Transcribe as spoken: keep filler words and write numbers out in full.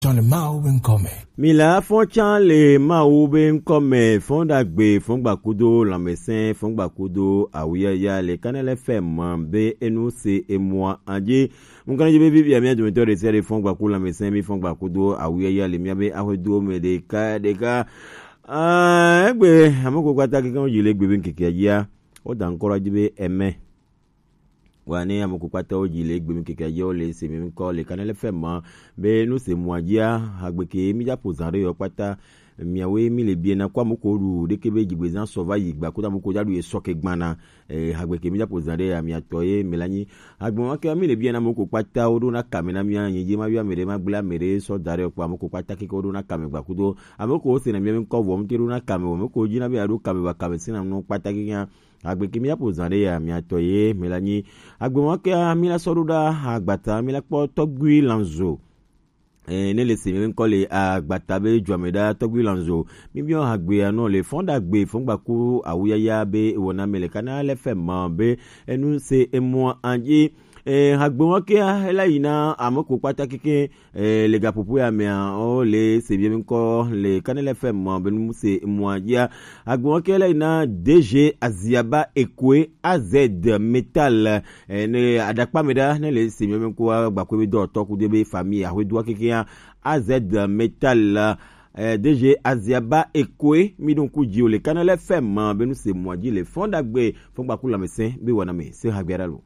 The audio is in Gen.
Tsɔ le Mawu be ŋkɔ me. Mila fɔtsa le Mawu be ŋkɔ me, fɔn ɖagbe, fɔn gbakudo lãmesẽ, fɔn gbakudo awuyaya le Kanɛlɛ F M be enu se emua adzi. Ŋkɔ ne dzi be vivia mia dometɔ ɖe sia ɖe fɔn gbaku lãmesẽ, mi fɔn gbakudo awuyaya le mia be ahweduwo me ɖeka ɖeka. Ah, egbe, ame ko kpata keke wo dzi le egbe be ŋkeke adzia, woda ŋkɔ ɖe edzi be eme. Wa ne ame ko kpata wo dzi le egbe ŋkeke adzia, wo le se mi ŋkɔ le Kanɛlɛ F M ma be nu se mua dzia, hagbe ke mi dza ƒo zã ɖe yɔ kpata. Miawoe mi le biena ko ame ko ɖu ɖeke be dzigbezã sɔ va yi gba ko ame ko dza ɖu ye sɔ ke gbana. Eh, hagbe ke mi dza ƒo zã ɖe ya, miatɔ ye mi la nyi. Hagbe wa ke mi le biena ame ko kpata wo ɖo na kame na mia, nyi dzi ma yɔ ame ɖe ma gblẽ ame ɖe sɔ da ɖe kpɔ ame ko kpata keke wo ɖo na kame gba kudo. Ame ko wo se na mia mi ŋkɔ vɔ mi te ɖo na kame wo, ame ko dzi na be ya ɖo kame ba kame si na nu kpata keke ya. Agbe ke mi aƒo zã ɖe ya, miatɔ ye mi la nyi. Agbe wa ke mi la sɔ ɖo ɖa agbata, mi la kpɔ Tɔgbui Lanzo. Eh, ne le se mi ŋkɔ le agbata be dzɔame ɖa Tɔgbui Lanzo. Mi biɔ hagbea nɔ le fɔn ɖagbe, fɔn gbaku awuyaya be wɔna me le Kanɛlɛ F M ma be enu se emua adzi. Eh, hagbe wa ke ela yi na ame ko kpata keke, eh, le gaƒoƒo ya mea, wo le se mi ŋkɔ le Kanɛlɛ F M ma be nu se emua dzia. Agbe wa ke ela yi na D G Aziaba Ekwe A Z Metal, eh, ne aɖakpa me ɖa, ne le se mi ŋkɔ gbaku be dɔ tɔ ku de be famille ahwedoa keke ya, A Z Metal, eh, D G Aziaba Ekwe, mi ɖo ŋku dzi wo le Kanɛlɛ F M ma be nu se emua dzi le fɔn ɖagbe, fɔn gbaku lãmesẽ be wɔna me se hagbea ɖa lo.